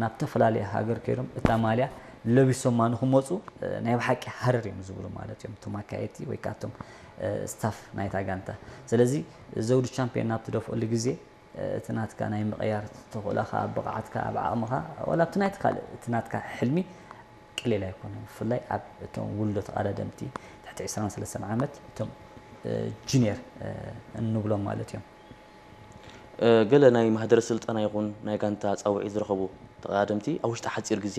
ናብ ተፈላለየ ሃገር ከይዶም እታ ማልያ ለቢሶማ ንክመፁ ናይ ብሓቂ ሃረር እዮም ዝብሉ ማለት እዮም እቶም ኣካየድቲ ወይ ከዓ እቶም ስታፍ ናይታ ጋንታ። ስለዚ ዘውዲ ቻምፒዮን ናብ ትደፍኦሉ ግዜ እቲ ናትካ ናይ ምቕያር ተኽእሎኻ፣ ኣብ ብቕዓትካ፣ ኣብ ዓቕምኻ፣ ወላ ኣብቲ ናይቲ ካልእ እቲ ናትካ ሕልሚ ቀሊል ኣይኮነን። ብፍላይ ኣብ እቶም ውሉዶ ተቐዳደምቲ ትሕቲ ዕስራን ሰለስተን ዓመት እቶም ጁኒየር እንብሎም ማለት እዮም። ገለ ናይ ማህደረ ስልጠና ይኹን ናይ ጋንታ ፃውዒት ዝረኸቡ ተቐዳደምቲ ኣብ ውሽጢ ሓፂር ግዜ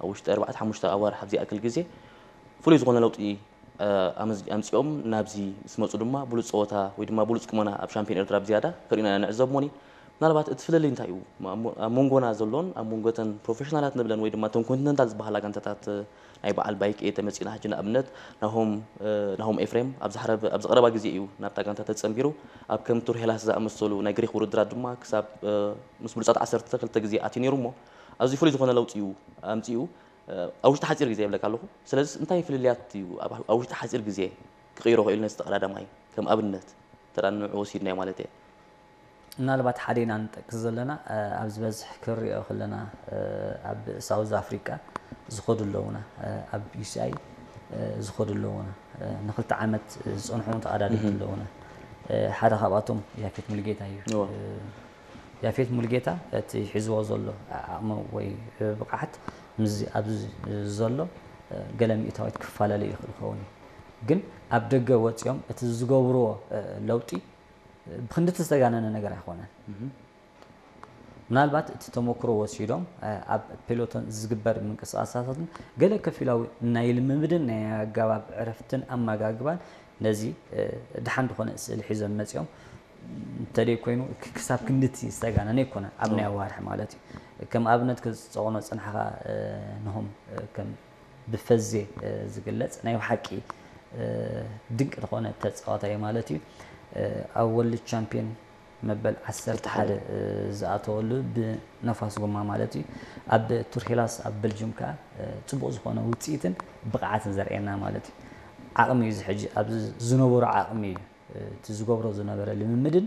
ኣብ ውሽጢ ኣርባዕተ ሓሙሽተ ኣዋርሕ ኣብ ዝኣክል ግዜ ፍሉይ ዝኾነ ለውጢ ኣምፂኦም ናብዚ ምስ መፁ ድማ ብሉፅ ፀወታ ወይ ድማ ብሉፅ ቁመና ኣብ ሻምፒዮን ኤርትራ ብዝያዳ ከርእዩና ኢና ንዕዘብ። እሞኒ ምናልባት እቲ ፍልልይ እንታይ እዩ ኣብ መንጎና ዘሎን ኣብ መንጎ ተን ፕሮፌሽናላት ንብለን ወይ ድማ ተን ኮንቲነንታል ዝበሃላ ጋንታታት ናይ በዓል ባይክ ኤ ተመፂና ሕጂ ንኣብነት ናሆም ናሆም ኤፍሬም ኣብዚ ሓረብ ኣብዚ ቀረባ ግዜ እዩ ናብታ ጋንታ ተፀንቢሩ ኣብ ከም ቱር ሄላስ ዝኣመሰሉ ናይ ግሪክ ውድድራት ድማ ክሳብ ምስ ብሉፃት ዓሰርተ ክልተ ግዜ ኣትዩ ነይሩ እሞ ኣዝዩ ፍሉይ ዝኾነ ለውጢ እዩ ኣምፂኡ ኣብ ውሽጢ ሓፂር ግዜ ይብለካ ኣለኹ ስለዚ እንታይ ፍልልያት እዩ ኣብ ውሽጢ ሓፂር ግዜ ክቕይሮ ክእል ነዚ ተቐዳዳማይ ከም ኣብነት ተራ ንዑ ወሲድናዮ ማለት እየ ምናልባት ሓደ ኢና ንጠቅስ ዘለና ኣብ ዝበዝሕ ክሪኦ ከለና ኣብ ሳውዝ ኣፍሪቃ ዝኸዱ ኣለውና ኣብ ዩሲኣይ ዝኸዱ ኣለውና ንክልተ ዓመት ዝፀንሑ ተቐዳደምቲ ኣለውና ሓደ ካብኣቶም ያፌት ሙልጌታ እዩ ያፌት ሙልጌታ እቲ ሒዝዎ ዘሎ ዓቕሚ ወይ ብቕዓት ምስዚ ኣብዚ ዘሎ ገለ ሚእታዊት ክፈላለ ይኽእል ይኸውን እዩ ግን ኣብ ደገ ወፂኦም እቲ ዝገብርዎ ለውጢ ብክንድቲ ዝተጋነነ ነገር ኣይኮነን ምናልባት እቲ ተመክሮ ወሲዶም ኣብ ፔሎቶን ዝግበር ምንቅስቃሳትን ገለ ከፊላዊ ናይ ልምምድን ናይ ኣገባብ ዕረፍትን ኣመጋግባን ነዚ ድሓን ዝኾነ ስእሊ ሒዞም መፂኦም እንተደይ ኮይኑ ክሳብ ክንድቲ ዝተጋነነ ኣይኮነን ኣብ ናይ ኣዋርሕ ማለት እዩ ከም ኣብነት ክፀቕኖ ፅንሓኻ ንሆም ከም ብፈዜ ዝግለፅ ናይ ብሓቂ ድንቂ ዝኾነ ተፃዋታይ ማለት እዩ ኣብ ወርልድ ቻምፒዮን መበል ዓሰርተ ሓደ ዝኣተወሉ ብነፋስ ጎማ ማለት እዩ ኣብ ቱርሄላስ ኣብ በልጅም ከዓ ፅቡቅ ዝኾነ ውፅኢትን ብቕዓትን ዘርእየና ማለት እዩ ዓቕሚ እዩ ሕጂ ኣብዚ ዝነበሮ ዓቕሚ እዩ እቲ ዝገብሮ ዝነበረ ልምምድን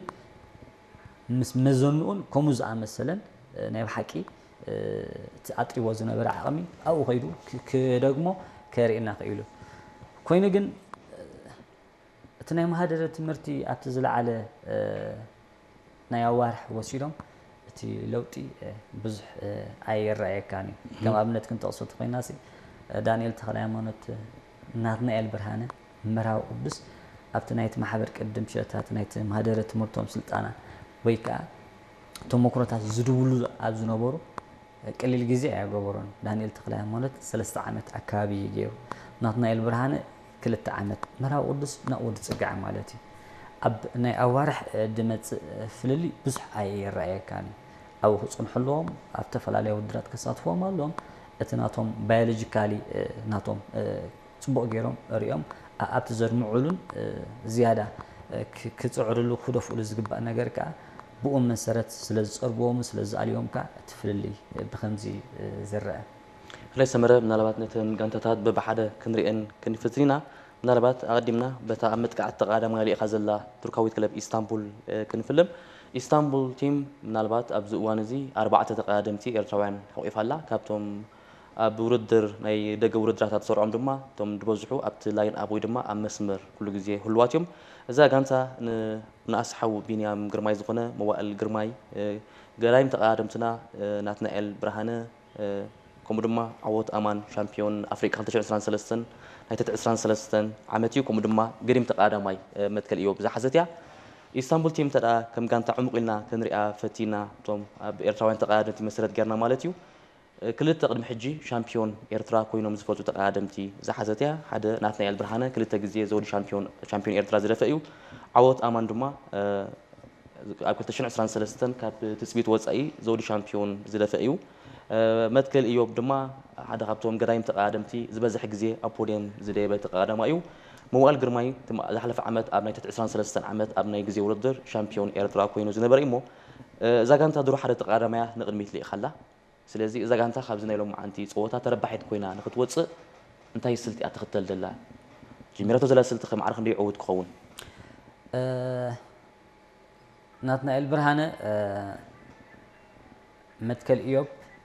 ምስ መዘንኡን ከምኡ ዝኣመሰለን ናይ ብሓቂ እቲ ኣጥሪዎ ዝነበረ ዓቕሚ ኣብኡ ከይዱ ክደግሞ ከርእየና ክኢሉ ኮይኑ ግን እቲ ናይ ማህደረ ትምህርቲ ኣብቲ ዝለዓለ ናይ ኣዋርሕ ወሲዶም እቲ ለውጢ ብዙሕ ኣይረኣየካን እዩ ከም ኣብነት ክንጠቕሶ ተኮይና ዳንኤል ተክለ ሃይማኖት ናትናኤል ብርሃነ መርሃዊ ቅዱስ ኣብቲ ናይቲ ማሕበር ቅድም ሸታት ናይቲ ማህደረ ትምህርቶም ስልጠና ወይ ከዓ ተሞክሮታት ዝድውሉ ኣብ ዝነበሩ ቅሊል ግዜ ኣያገበሮን ዳንኤል ተክለ ሃይማኖት ሰለስተ ዓመት ኣካባቢ እዩ ገይሩ ናትናኤል ብርሃነ ክልተ ዓመት መርሃዊ ቅዱስ ናብኡ ዝፅጋዕ ማለት እዩ ኣብ ናይ ኣዋርሕ ድመፅእ ፍልልይ ብዙሕ ኣይረኣየካን እዩ ኣብኡ ክፅንሑ ኣለዎም ኣብ ተፈላለየ ውድራት ክሳትፎም ኣለዎም እቲ ናቶም ባዮሎጂካሊ ናቶም ፅቡቕ ገይሮም ሪኦም ኣብቲ ዘድምዑሉን ዝያዳ ክፅዕርሉ ክደፍኡሉ ዝግባእ ነገር ከዓ ብኡ መሰረት ስለ ዝፀርግዎም ስለ ዝኣልዮም ከዓ እቲ ፍልልይ ብከምዚ ዝረአ። ሕራይ ሰመረ ምናልባት ነተን ጋንታታት በብሓደ ክንሪአን ክንፍትን ኢና። ምናልባት ኣቐዲምና በታ ኣብ መጥቃዕቲ ተቐዳዳማይ ኣሊእኻ ዘላ ቱርካዊት ክለብ ኢስታንቡል ክንፍልም። ኢስታንቡል ቲም ምናልባት ኣብዚ እዋን እዚ ኣርባዕተ ተቐዳደምቲ ኤርትራውያን ሓቑፋ ኣላ። ካብቶም ኣብ ውድድር ናይ ደገ ውድድራታ ዝሰርዖም ድማ እቶም ዝበዝሑ ኣብቲ ላይን ኣፕ ወይ ድማ ኣብ መስመር ኩሉ ግዜ ህልዋት እዮም። እዛ ጋንታ ንኣስሓው ቢንያም ግርማይ ዝኾነ መዋእል ግርማይ፣ ገዳይም ተቐዳደምትና ናትናኤል ብርሃነ፣ ከምኡ ድማ ዓወት ኣማን ሻምፒዮን ኣፍሪቃ ክልተ ሽሕን ዕስራን ሰለስተን ናይ ትሕቲ ዕስራን ሰለስተን ዓመት እዩ። ከምኡ ድማ ገዲም ተቐዳዳማይ መትከል እዮብ ዝሓዘት እያ። ኢስታንቡል ቲም እንተ ከም ጋንታ ዕሙቕ ኢልና ክንሪኣ ፈቲና እቶም ኣብ ኤርትራውያን ተቐዳደምቲ መሰረት ጌርና ማለት እዩ። ክልተ ቅድሚ ሕጂ ሻምፒዮን ኤርትራ ኮይኖም ዝፈልጡ ተቐዳደምቲ ዝሓዘት እያ። ሓደ ናትናኤል ብርሃነ ክልተ ግዜ ዘውዲ ሻምፒዮን ሻምፒዮን ኤርትራ ዝደፈ እዩ። ዓወት ኣማን ድማ ኣብ ክልተ ሽሕን ዕስራን ሰለስተን ካብ ትጽቢት ወጻኢ ዘውዲ ሻምፒዮን ዝደፈ እዩ። መትከል እዮብ ድማ ሓደ ካብቶም ገዳይም ተቐዳደምቲ ዝበዝሕ ግዜ ኣብ ፖድየም ዝደየበ ተቐዳዳማይ እዩ። መዋእል ግርማይ ዝሓለፈ ዓመት ኣብ ናይ ትሕቲ ዕስራን ሰለስተን ዓመት ኣብ ናይ ግዜ ውድድር ሻምፒዮን ኤርትራ ኮይኑ ዝነበረ እዩ እሞ እዛ ጋንታ ድሮ ሓደ ተቐዳዳማያ ንቕድሚት ልኢኻ ኣላ። ስለዚ እዛ ጋንታ ካብዚ ናይ ሎማዓንቲ ፀወታ ተረባሒት ኮይና ንክትወፅእ እንታይ ስልቲ እያ ትኽተል ዘላ? ጀሚራቶ ዘላ ስልቲ ከ ማዕረ ክንደይ ዕዉት ክኸውን? ናትናኤል ብርሃነ፣ መትከል ኢዮብ፣